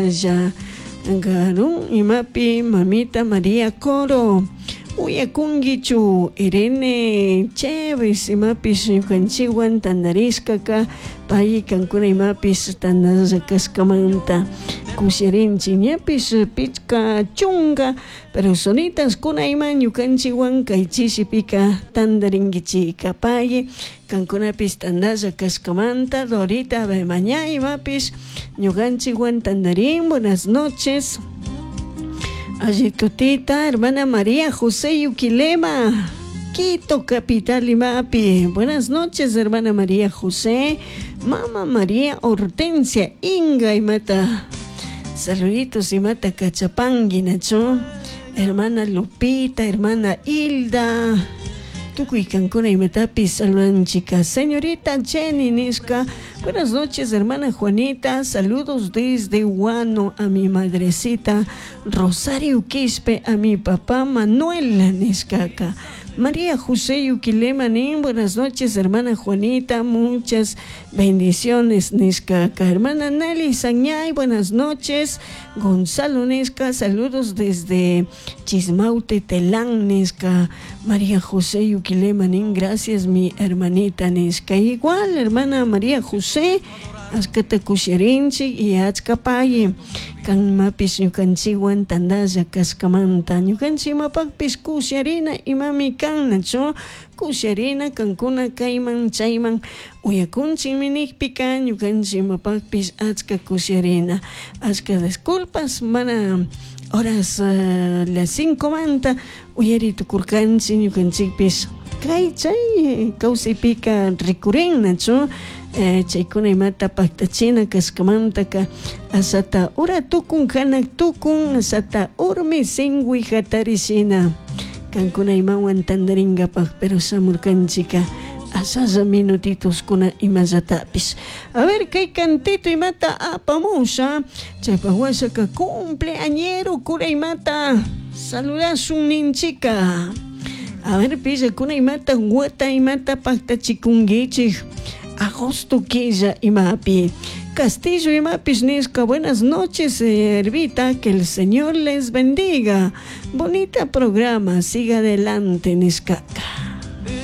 Lla Garun imapi mamita Maria Coro uyakunkichu Irene Cheves imapish ñukanchikwan tantarishkaka pay kankuna imapish tantalla kashkamanta kushirinchik ñapish pichka chunka personitas kuna ima ñukanchikwan kay chishipika tantarinkichika pay kankunapish tantalla kashkamanta Dorita Bemaña imapish ñukanchikwan tantarin. Buenas noches. Alli tutita, hermana María José Yuquilema, Quito capital imapi. Buenas noches, hermana María José, mama María Hortensia Inga imata. Saluditos imata kachapangui nachu. Hermana Lupita, hermana Hilda. Tukuy kankuna imatapis saludanchika. Señorita Jenny nishka. Buenas noches, hermana Juanita. Saludos desde Guano a mi madrecita Rosario Quispe, a mi papá Manuel nishkaka. María José Yuquilema nin, buenas noches, hermana Juanita, muchas bendiciones, nishkaka. Hermana Nelly Sañay, buenas noches. Gonzalo nishka, saludos desde Chismaute, Telán, nishka. María José Yuquilema nin, gracias, mi hermanita nishka. Igual, hermana María José, achkata kushirinchik y achka payi kanmapish ñukanchikwan tantalla kashkamanta ñukanchik imapakpish kusharina imami kan nachu kusharina kankuna kayman chayman uyakunchikmi nikpika ñukanchik imapakpish achka kusharina achka disculpas mana horas las 5 manta uyari tukurkanchik ñukanchikpish kay chay kawsaypika rikurin nachu chaykuna imata paktachina kashkamantaka ashata ura tukun hanak tukun ashata urmi sinwi hatarishina kankuna imawan tantarinkapak pero shamurkanchika ashalla minutitoskuna imallatapish. A ver kay cantito imata apamusha chaypak washaka cumpleañero kura imata saludashun ninchika. A ver pillakuna imata wata imata paktachikunkichik agosto killa imapi. Castillo imapish nishka, buenas noches, Hervita, que el Señor les bendiga. Bonita programa, siga adelante nishkaka.